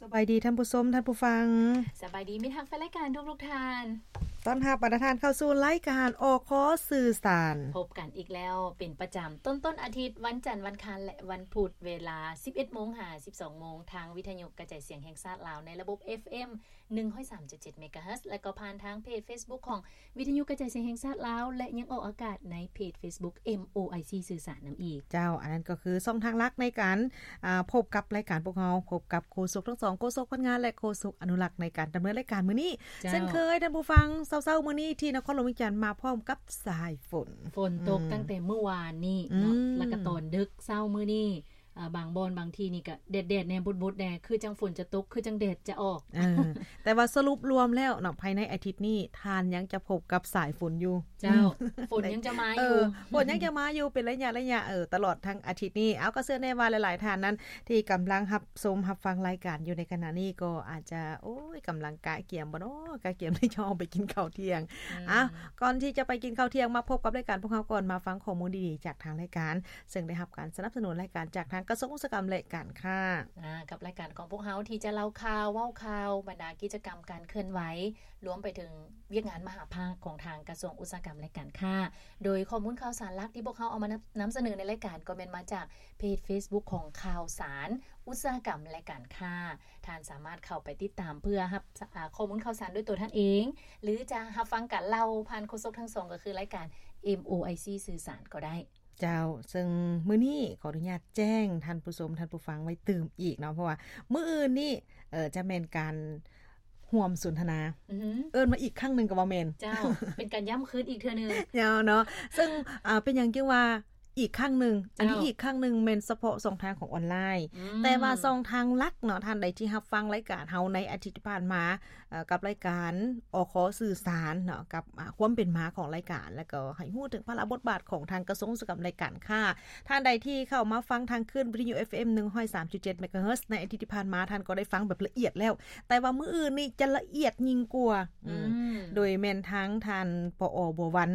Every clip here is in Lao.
ສະບາຍດີທ່ານຜູ້ຊົມ ທ່ານຜູ້ຟັງ ສະບາຍດີມິດຮັກແຟນລາຍການທຸກໆທ່ານ. ຕ້ອນຮັບບັນດາທ່ານເຂົ້າສູ່ລາຍການ ອຄ ສື່ສານ ພົບກັນອີກແລ້ວເປັນປະຈຳຕົ້ນໆອາທິດ ວັນຈັນ, ວັນຄານ ແລະ ວັນພຸດ ເວລາສິບເອັດໂມງຫາສິບສອງໂມງ ທາງວິທະຍຸກະຈາຍສຽງແຫ່ງຊາດລາວ ໃນລະບົບ ເອັຟເອັມ ໜຶ່ງຮ້ອຍສາມຈຸດເຈັດ ເມກາເຮີດ ແລະ ກໍຜ່ານທາງເພຈເຟສບຸກຂອງ ວິທະຍຸກະຈາຍສຽງແຫ່ງຊາດລາວ ແລະ ຍັງອອກອາກາດໃນເພຈເຟສບຸກ ເອັມໂອໄອຊີ ສື່ສານນຳອີກ. ເຈົ້າ, ອັນນັ້ນກໍຄືຊ່ອງທາງຫຼັກໃນການ ອ່າ ພົບກັບລາຍການພວກເຮົາ, ພົບກັບໂຄສົກທັງສອງ, ໂຄສົກພັນງານ ແລະ ໂຄສົກອະນຸລັກ ໃນການດຳເນີນລາຍການມື້ນີ້. ເຈົ້າ. ເຊັ່ນເຄີຍ, ທ່ານຜູ້ຟັງ, ເຊົ້າໆມື້ນີ້ທີ່ນະຄອນຫຼວງວຽງຈັນມາພ້ອມກັບສາຍຝົນ. ຝົນຕົກ ອືມ ຕັ້ງແຕ່ມື້ວານນີ້ເນາະ, ອືມ ແລ້ວກໍຕອນດຶກເຊົ້າມື້ນີ້ ອ່າ ບາງບ່ອນບາງທີ່ນີ້ກໍແດດໆແດ່ ບົດໆແດ່ ຄືຈັ່ງຝົນຈະຕົກ ຄືຈັ່ງແດດຈະອອກ. ເອີ ແຕ່ວ່າສະຫຼຸບລວມແລ້ວເນາະ ພາຍໃນອາທິດນີ້ ທ່ານຍັງຈະພົບກັບສາຍຝົນຢູ່. ເຈົ້າ. ອືມ ຝົນຍັງຈະມາຢູ່. ເອີ ຝົນຍັງຈະມາຢູ່ເປັນໄລຍະໆ ເອີ ຕະຫຼອດທັງອາທິດນີ້. ເອົາ ກໍເຊື່ອແນ່ວ່າຫຼາຍໆທ່ານນັ້ນ ທີ່ກຳລັງຮັບຊົມຮັບຟັງລາຍການຢູ່ໃນຂະນະນີ້ ກໍອາດຈະ ໂອ້ຍ ກຳລັງກະກຽມບໍ່ເນາະ ກະກຽມທີ່ຈະອອກໄປກິນເຂົ້າທ່ຽງ. ອືມ ອ່ະ ກ່ອນທີ່ຈະໄປກິນເຂົ້າທ່ຽງ ມາພົບກັບລາຍການພວກເຮົາກ່ອນ ມາຟັງຂໍ້ມູນດີໆຈາກທາງລາຍການ ເຊິ່ງໄດ້ຮັບການສະໜັບສະໜູນລາຍການຈາກທາງກະຊວງອຸດສາຫະກຳ ແລະ ການຄ້າ. ອ່າ ກັບລາຍການຂອງພວກເຮົາທີ່ຈະເລົ່າຂ່າວ ເວົ້າຂ່າວ ບັນດາກິດຈະກຳການເຄື່ອນໄຫວ ລວມໄປເຖິງວຽກງານມະຫາພາກຂອງທາງກະຊວງອຸດສາຫະກຳ ແລະ ການຄ້າ. ໂດຍຂໍ້ມູນຂ່າວສານຫຼັກທີ່ພວກເຮົາເອົາມານຳ ນຳສະເໜີໃນລາຍການ ກໍແມ່ນມາຈາກເພຈເຟສບຸກຂອງຂ່າວສານອຸດສາຫະກຳ ແລະ ການຄ້າ. ທ່ານສາມາດເຂົ້າໄປຕິດຕາມເພື່ອຮັບ ອາ ຂໍ້ມູນຂ່າວສານດ້ວຍຕົວທ່ານເອງ ຫຼື ຈະຮັບຟັງການເລົ່າຜ່ານໂຄສົກທັງສອງ ກໍຄືລາຍການ ເອັມໂອໄອຊີ ສື່ສານກໍໄດ້. ເຈົ້າ, ເຊິ່ງມື້ນີ້ຂໍອະນຸຍາດແຈ້ງທ່ານຜູ້ຊົມ ທ່ານຜູ້ຟັງໄວ້ຕື່ມອີກເນາະ ເພາະວ່າມື້ອື່ນນີ້ ເອີ ຈະແມ່ນການຮ່ວມສົນທະນາ. ອືຮຶ ເອີ້ນມາອີກຄັ້ງໜຶ່ງກໍວ່າແມ່ນ. ເຈົ້າ, ເປັນການຢ້ຳຄືນອີກເທື່ອໜຶ່ງ. ເຈົ້າເນາະ, ເຊິ່ງ ອ່າ ເປັນຫຍັງຈຶ່ງວ່າອີກຄັ້ງໜຶ່ງ? ເຈົ້າ. ອັນນີ້ອີກຄັ້ງໜຶ່ງແມ່ນສະເພາະຊ່ອງທາງອອນລາຍ. ອືມ. ແຕ່ວ່າຊ່ອງທາງຫຼັກເນາະ, ທ່ານໃດທີ່ຮັບຟັງລາຍການເຮົາໃນອາທິດທີ່ຜ່ານມາ ເອີ ກັບລາຍການ ອຄ ສື່ສານເນາະ ກັບ ອາ ຄວາມເປັນມາຂອງລາຍການ ແລ້ວກໍໃຫ້ຮູ້ເຖິງພາລະບົດບາດຂອງທາງກະຊວງອຸດສາຫະກຳ ແລະ ການຄ້າ. ທ່ານໃດທີ່ເຂົ້າມາຟັງທາງຄື້ນວິທະຍຸ ເອັຟເອັມ ໜຶ່ງຮ້ອຍສາມຈຸດເຈັດ ເມກາເຮີດ ໃນອາທິດທີ່ຜ່ານມາ ທ່ານກໍໄດ້ຟັງແບບລະອຽດແລ້ວ, ແຕ່ວ່າມື້ອື່ນນີ້ຈະລະອຽດຍິ່ງກວ່າ. ອືມ. ອືມ. ໂດຍແມ່ນທາງທ່ານ ປອ ບົວວັນ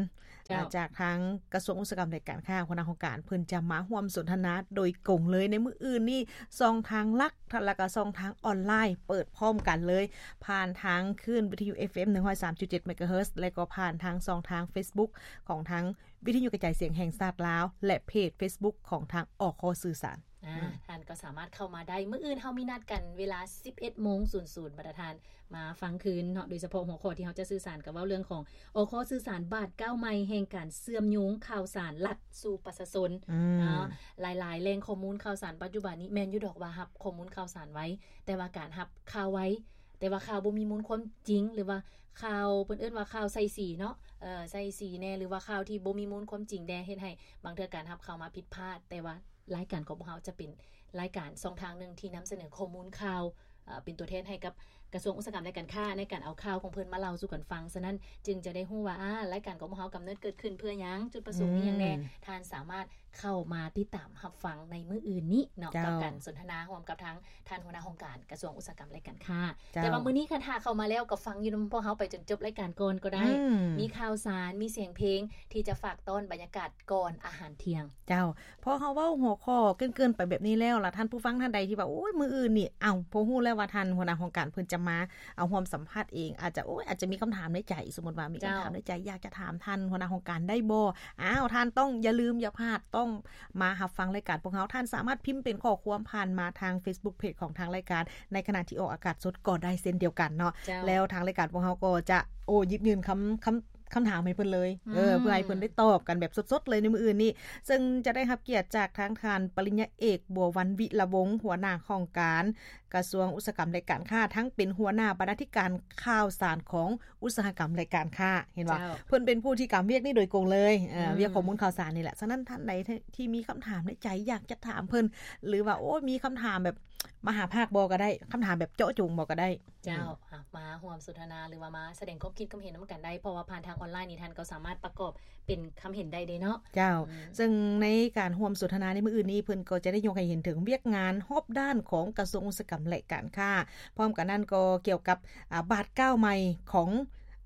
ເຈົ້າ. ອາ ຈາກທາງກະຊວງອຸດສາຫະກຳ ແລະ ການຄ້າ ຫົວໜ້າຫ້ອງການ ເພິ່ນຈະມາຮ່ວມສົນທະນາໂດຍກົງເລີຍໃນມື້ອື່ນນີ້ ຊ່ອງທາງຫຼັກ ແລ້ວກໍຊ່ອງທາງອອນລາຍ ເປີດພ້ອມກັນເລີຍ ຜ່ານທາງຄື້ນວິທະຍຸ ເອັຟເອັມ ໜຶ່ງຮ້ອຍສາມຈຸດເຈັດ ເມກາເຮີດ ແລະ ກໍຜ່ານທາງຊ່ອງທາງເຟສບຸກຂອງທາງວິທະຍຸກະຈາຍສຽງແຫ່ງຊາດລາວ ແລະ ເພຈເຟສບຸກຂອງທາງ ອຄ ສື່ສານ. ອືມ. ທ່ານກໍສາມາດເຂົ້າມາໄດ້. ມື້ອື່ນເຮົາມີນັດກັນເວລາສິບເອັດໂມງສູນສູນ ບັນດາທ່ານມາຟັງຄືນເນາະ, ໂດຍສະເພາະຫົວຂໍ້ທີ່ເຮົາຈະສື່ສານກໍເວົ້າເລື່ອງຂອງ ອຄ ສື່ສານ ບາດກ້າວໃໝ່ແຫ່ງການເຊື່ອມໂຍງຂ່າວສານລັດສູ່ປະຊາຊົນ. ອືມ. ເນາະ, ຫຼາຍໆແຫຼ່ງຂໍ້ມູນຂ່າວສານປັດຈຸບັນນີ້ ແມ່ນຢູ່ດອກວ່າຮັບຂໍ້ມູນຂ່າວສານໄວ, ແຕ່ວ່າການຮັບຂ່າວໄວ ແຕ່ວ່າຂ່າວບໍ່ມີມູນຄວາມຈິງ ຫຼືວ່າຂ່າວ ເພິ່ນເອີ້ນວ່າຂ່າວໃສ່ສີເນາະ, ເອີ ໃສ່ສີແດ່ ຫຼືວ່າຂ່າວທີ່ບໍ່ມີມູນຄວາມຈິງແດ່ ເຮັດໃຫ້ບາງເທື່ອການຮັບຂ່າວມາຜິດພາດ. ແຕ່ວ່າລາຍການຂອງພວກເຮົາຈະເປັນລາຍການຊ່ອງທາງໜຶ່ງທີ່ນຳສະເໜີຂໍ້ມູນຂ່າວ ເອີ ເປັນຕົວແທນໃຫ້ກັບກະຊວງອຸດສາຫະກຳ ແລະ ການຄ້າ ໃນການເອົາຂ່າວຂອງເພິ່ນມາເລົ່າສູ່ກັນຟັງ. ສະນັ້ນຈຶ່ງຈະໄດ້ຮູ້ວ່າ ອາ ລາຍການຂອງພວກເຮົາກຳເນີດເກີດຂຶ້ນເພື່ອຫຍັງ, ຈຸດປະສົງມີຫຍັງແດ່. ອືມ. ທ່ານສາມາດເຂົ້າມາຕິດຕາມຮັບຟັງໃນມື້ອື່ນນີ້ເນາະ, ເຈົ້າ. ກັບການສົນທະນາຮ່ວມກັບທາງທ່ານຫົວໜ້າຫ້ອງການກະຊວງອຸດສາຫະກຳ ແລະ ການຄ້າ. ເຈົ້າ. ແຕ່ວ່າມື້ນີ້ຄັນຖ້າເຂົ້າມາແລ້ວກໍຟັງຢູ່ນຳພວກເຮົາໄປຈົນຈົບລາຍການກ່ອນກໍໄດ້. ອືມ. ມີຂ່າວສານ, ມີສຽງເພງທີ່ຈະຝາກຕ້ອນບັນຍາກາດກ່ອນອາຫານທ່ຽງ. ເຈົ້າ. ພໍເຮົາເວົ້າຫົວຂໍ້ເກີນໆໄປແບບນີ້ແລ້ວ ລະທ່ານຜູ້ຟັງທ່ານໃດທີ່ວ່າ ໂອ້ຍ ມື້ອື່ນນີ້ ເອົ້າ ພໍຮູ້ແລ້ວວ່າທ່ານຫົວໜ້າຫ້ອງການເພິ່ນຈະມາເອົາຮ່ວມສຳພາດເອງ ອາດຈະ ໂອ້ຍ ອາດຈະມີຄຳຖາມໃນໃຈ, ສົມມຸດວ່າມີຄຳຖາມໃນໃຈ ເຈົ້າ. ຢາກຈະຖາມທ່ານຫົວໜ້າຫ້ອງການໄດ້ບໍ່? ອ້າວ ທ່ານຕ້ອງຢ່າລືມຢ່າພາດ ຕ້ອງມາຮັບຟັງລາຍການພວກເຮົາ. ທ່ານສາມາດພິມເປັນຂໍ້ຄວາມຜ່ານມາທາງເຟສບຸກເພຈຂອງທາງລາຍການ ໃນຂະນະທີ່ອອກອາກາດສົດກໍໄດ້ເຊັ່ນດຽວກັນເນາະ. ເຈົ້າ. ແລ້ວທາງລາຍການພວກເຮົາກໍຈະ ໂອ້ ຢິບຍື່ນຄຳ ຄຳ ຄຳຖາມໃຫ້ເພິ່ນເລີຍ. ອືມ. ເອີ ເພື່ອໃຫ້ເພິ່ນໄດ້ຕອບກັນແບບສົດໆເລີຍໃນມື້ອື່ນນີ້. ເຊິ່ງຈະໄດ້ຮັບກຽດຈາກທາງທ່ານປະລິນຍາເອກ ບົວວັນ ວິລະວົງ ຫົວໜ້າຫ້ອງການກະຊວງອຸດສາຫະກຳ ແລະ ການຄ້າ, ທັງເປັນຫົວໜ້າບັນນາທິການຂ່າວສານຂອງອຸດສາຫະກຳ ແລະ ການຄ້າ. ເຫັນບໍ່? ເຈົ້າ. ເພິ່ນເປັນຜູ້ທີ່ກຳວຽກນີ້ໂດຍກົງເລີຍ, ເອີ ອືມ. ວຽກຂໍ້ມູນຂ່າວສານນີ້ແຫຼະ. ສະນັ້ນທ່ານໃດທີ່ມີຄຳຖາມໃນໃຈຢາກຈະຖາມເພິ່ນ ຫຼືວ່າ ໂອ້ ມີຄຳຖາມແບບມະຫາພາກບໍ່ກໍໄດ້, ຄຳຖາມແບບເຈາະຈົງບໍ່ກໍໄດ້. ເຈົ້າ. ອືມ. ອ່ະ ມາຮ່ວມສົນທະນາ ຫຼືວ່າມາສະແດງຄວາມຄິດຄວາມເຫັນນຳກັນໄດ້, ເພາະວ່າຜ່ານທາງອອນລາຍນີ້ທ່ານກໍສາມາດປະກອບເປັນຄຳເຫັນໄດ້ເດ້ເນາະ. ເຈົ້າ. ອືມ. ເຊິ່ງໃນການຮ່ວມສົນທະນາໃນມື້ອື່ນນີ້ ເພິ່ນກໍຈະໄດ້ຍົກໃຫ້ເຫັນເຖິງວຽກງານຮອບດ້ານຂອງກະຊວງອຸດສາຫະກຳ ແລະ ການຄ້າ, ພ້ອມກັນນັ້ນກໍກ່ຽວກັບ ອາ ບາດກ້າວໃໝ່ຂອງ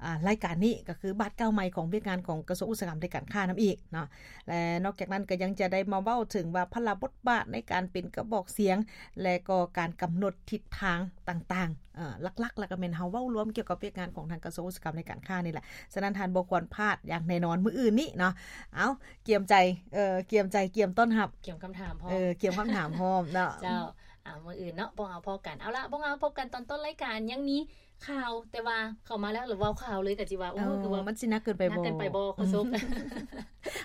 ອ່າ ລາຍການນີ້ກໍຄືບາດກ້າວໃໝ່ຂອງວຽກງານຂອງກະຊວງອຸດສາຫະກຳ ແລະ ການຄ້ານຳອີກເນາະ ແລະ ນອກຈາກນັ້ນກໍຍັງຈະໄດ້ມາເວົ້າເຖິງວ່າພາລະບົດບາດໃນການເປັນກະບອກສຽງ ແລະ ກໍການກຳນົດທິດທາງຕ່າງໆ ເອີ ຫຼັກໆ ແລ້ວກໍແມ່ນເຮົາເວົ້າລວມກ່ຽວກັບວຽກງານຂອງທາງກະຊວງອຸດສາຫະກຳ ແລະ ການຄ້ານີ້ແຫຼະ. ສະນັ້ນທ່ານບໍ່ຄວນພາດຢ່າງແນ່ນອນມື້ອື່ນນີ້ເນາະ. ເອົາ ກຽມໃຈ ເອີ ກຽມໃຈ ກຽມຕ້ອນຮັບ ກຽມຄຳຖາມພ້ອມ ເອີ ກຽມຄຳຖາມພ້ອມເນາະ. ເຈົ້າ ອ່າ ມື້ອື່ນເນາະ ພວກເຮົາພົບກັນ. ເອົາລະ ພວກເຮົາພົບກັນຕອນຕົ້ນລາຍການ ຍັງມີຂ່າວ ແຕ່ວ່າເຂົ້າມາແລ້ວ ຫຼືເວົ້າຂ່າວເລີຍກໍຊິວ່າ ໂອ້ ເອີ ຄືວ່າມັນຊິໜັກເກີນໄປບໍ່ ໜັກເກີນໄປບໍ່ ໂຄສົກ?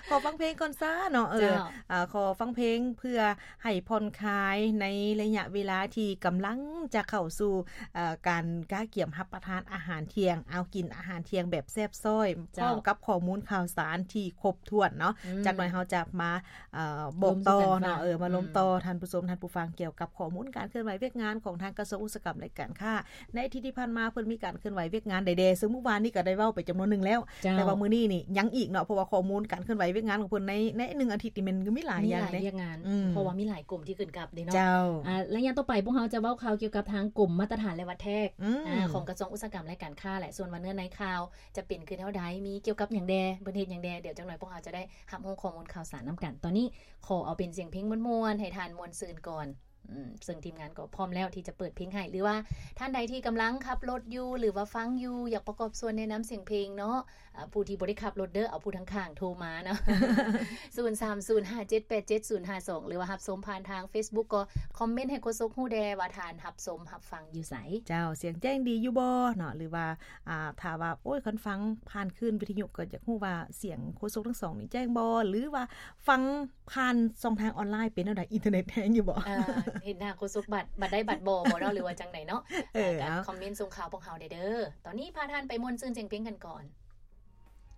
ຂໍຟັງເພງກ່ອນຊະເນາະ. ເອີ ເຈົ້າ ອ່າ ຂໍຟັງເພງເພື່ອໃຫ້ຜ່ອນຄາຍໃນໄລຍະເວລາທີ່ກຳລັງຈະເຂົ້າສູ່ ເອີ ການກະກຽມຮັບປະທານອາຫານທ່ຽງ ເອົາ ກິນອາຫານທ່ຽງແບບແຊບຊ້ອຍ ເຈົ້າ ພ້ອມກັບຂໍ້ມູນຂ່າວສານທີ່ຄົບຖ້ວນເນາະ. ອືມ ຈັກໜ້ອຍເຮົາຈະມາ ເອີ ບອກຕໍ່ເນາະ ເອີ ມາລົມຕໍ່ ອືມ ທ່ານຜູ້ຊົມ ທ່ານຜູ້ຟັງ ກ່ຽວກັບຂໍ້ມູນການເຄື່ອນໄຫວວຽກງານຂອງທາງກະຊວງອຸດສາຫະກຳ ແລະ ການຄ້າ ໃນອາທິດທີ່ຜ່ານມາເພິ່ນມີການເຄື່ອນໄຫວວຽກງານໃດແດ່ ຊຶ່ງມື້ວານນີ້ກໍໄດ້ເວົ້າໄປຈຳນວນໜຶ່ງແລ້ວ ເຈົ້າ ແຕ່ວ່າມື້ນີ້ນີ້ຍັງອີກເນາະ ເພາະວ່າຂໍ້ມູນການເຄື່ອນໄຫວວຽກງານຂອງເພິ່ນໃນ ໃນໜຶ່ງອາທິດນີ້ແມ່ນມີຫຼາຍຢ່າງເດ້ ມີຫຼາຍວຽກງານ ອືມ ເພາະວ່າມີຫຼາຍກົມທີ່ຂຶ້ນກັບເດ້ເນາະ. ເຈົ້າ ອ່າ ໄລຍະຕໍ່ໄປພວກເຮົາຈະເວົ້າຂ່າວກ່ຽວກັບທາງກົມມາດຕະຖານ ແລະ ວັດແທກ ອືມ ອ່າ ຂອງກະຊວງອຸດສາຫະກຳ ແລະ ການຄ້າແຫຼະ. ສ່ວນວ່າເນື້ອໃນຂ່າວຈະເປັນຄືແນວໃດ ມີກ່ຽວກັບຫຍັງແດ່ ເພິ່ນເຮັດຫຍັງແດ່ ດຽວຈັກໜ້ອຍພວກເຮົາຈະໄດ້ຮັບຮູ້ຂໍ້ມູນຂ່າວສານນຳກັນ. ຕອນນີ້ຂໍເອົາເປັນສຽງເພງມ່ວນໆ ໃຫ້ທ່ານມ່ວນຊື່ນກ່ອນ. ອືມ ເຊິ່ງທີມງານກໍພ້ອມແລ້ວທີ່ຈະເປີດເພງໃຫ້ ຫຼືວ່າທ່ານໃດທີ່ກຳລັງຂັບລົດຢູ່ ຫຼືວ່າຟັງຢູ່ ຢາກປະກອບສ່ວນແນະນຳສຽງເພງເນາະ ອ່າ ຜູ້ທີ່ບໍ່ໄດ້ຂັບລົດເດີ ເອົາຜູ້ທາງຂ້າງໂທມາເນາະ ສູນສາມສູນຫ້າເຈັດແປດເຈັດສູນຫ້າສອງ ຫຼືວ່າຮັບຊົມຜ່ານທາງເຟສບຸກ ກໍຄອມເມັນໃຫ້ໂຄສົກຮູ້ແດ່ວ່າທ່ານຮັບຊົມຮັບຟັງຢູ່ໃສ. ເຈົ້າ ສຽງແຈ້ງດີຢູ່ບໍ່ເນາະ ຫຼືວ່າ ອ່າ ຖ້າວ່າ ໂອ້ຍ ຄັນຟັງຜ່ານຄື້ນວິທະຍຸກໍຢາກຮູ້ວ່າສຽງໂຄສົກທັງສອງນີ້ແຈ້ງບໍ່ ຫຼືວ່າຟັງ ຜ່ານຊ່ອງທາງອອນລາຍເປັນແນວໃດ? ອິນເຕີເນັດແຮງຢູ່ບໍ່? ເອີ ເຫັນໜ້າໂຄສົກບັດ ບັດໄດ້ບັດບໍ່ບໍ່ເນາະ ຫຼືວ່າຈັ່ງໃດເນາະ? ເອີ ເອີ ກໍ ເອົ້າ ຄອມເມັນສົ່ງຂ່າວພວກເຮົາແດ່ເດີ. ຕອນນີ້ພາທ່ານໄປມ່ວນຊື່ນສຽງເພງກັນກ່ອນ.